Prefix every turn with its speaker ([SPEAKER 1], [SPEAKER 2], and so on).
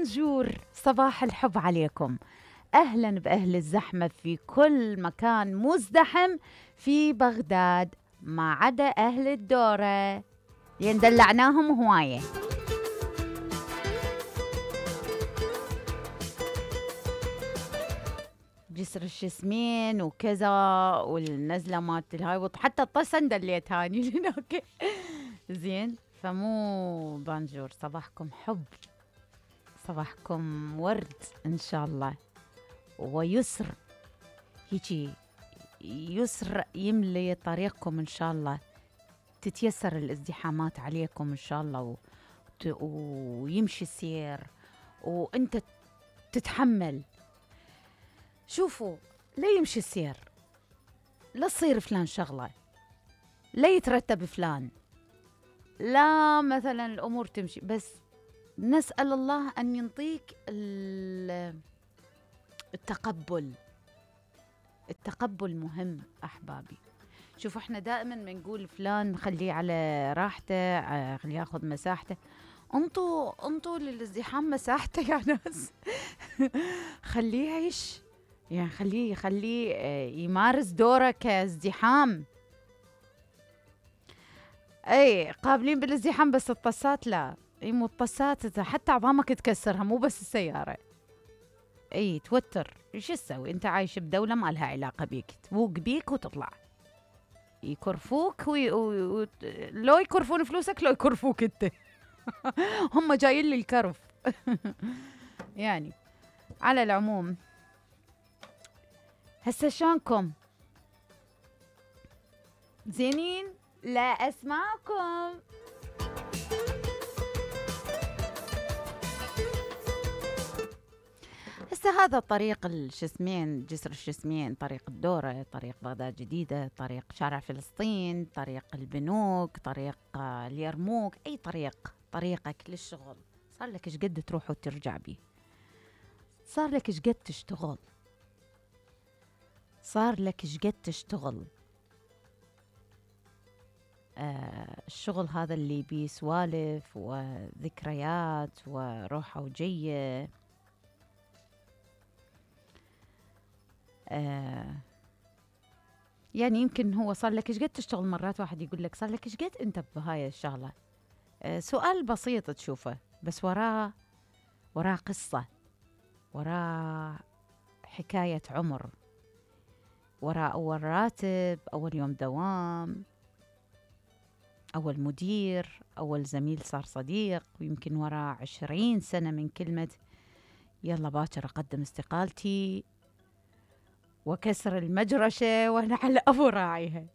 [SPEAKER 1] بونجور، صباح الحب عليكم. أهلا بأهل الزحمة في كل مكان مزدحم في بغداد، ما عدا أهل الدورة لأن دلعناهم هواية. جسر الشسمين وكذا والنزلة مالت الهاي، حتى الطسن دليت هاني هناك. زين، فمو بونجور، صباحكم حب، صباحكم ورد إن شاء الله، ويسر هيجي، يسر يملي طريقكم إن شاء الله، تتيسر الازدحامات عليكم إن شاء الله، ويمشي السير وأنت تتحمل. شوفوا، لا يمشي السير، لا تصير فلان شغلة، لا يترتب فلان، لا مثلا الأمور تمشي، بس نسأل الله أن ينطيك التقبل. التقبل مهم أحبابي. شوفوا، احنا دائما بنقول فلان خليه على راحته، خليه ياخذ مساحته. انطوا للازدحام مساحته يا ناس. خليه يعيش، يعني خليه يمارس دوره كازدحام. اي قابلين بالازدحام، بس الطسات لا. اي مو الطسات، حتى عظامك تكسرها، مو بس السيارة. اي توتر، ايش تسوي؟ انت عايش بدولة ما لها علاقة بيك، توق بيك وتطلع. يكرفوك لو يكرفون فلوسك، لو يكرفوك انت. هم جايين للكرف. يعني على العموم، هسه شلونكم؟ زينين؟ لا اسمعكم. هسه هذا طريق الشسمين، جسر الشسمين، طريق الدورة، طريق بغداد جديدة، طريق شارع فلسطين، طريق البنوك، طريق اليرموك، أي طريقك للشغل. صار لك إيش قد تروح وترجع بيه؟ صار لك إيش قد تشتغل؟ صار لك إيش قد تشتغل؟ الشغل هذا اللي بيه سوالف وذكريات وروحة وجية. يعني يمكن هو صار لك إيش قد تشتغل. مرات واحد يقول لك صار لك إيش قد أنت بهاي الشغلة. سؤال بسيط تشوفه، بس وراه قصة، وراه حكاية عمر، وراه أول راتب، أول يوم دوام، أول مدير، أول زميل صار صديق، ويمكن وراه 20 سنة من كلمة يلا باكر أقدم استقالتي وكسر المجرشة وأنا على أبو راعيها.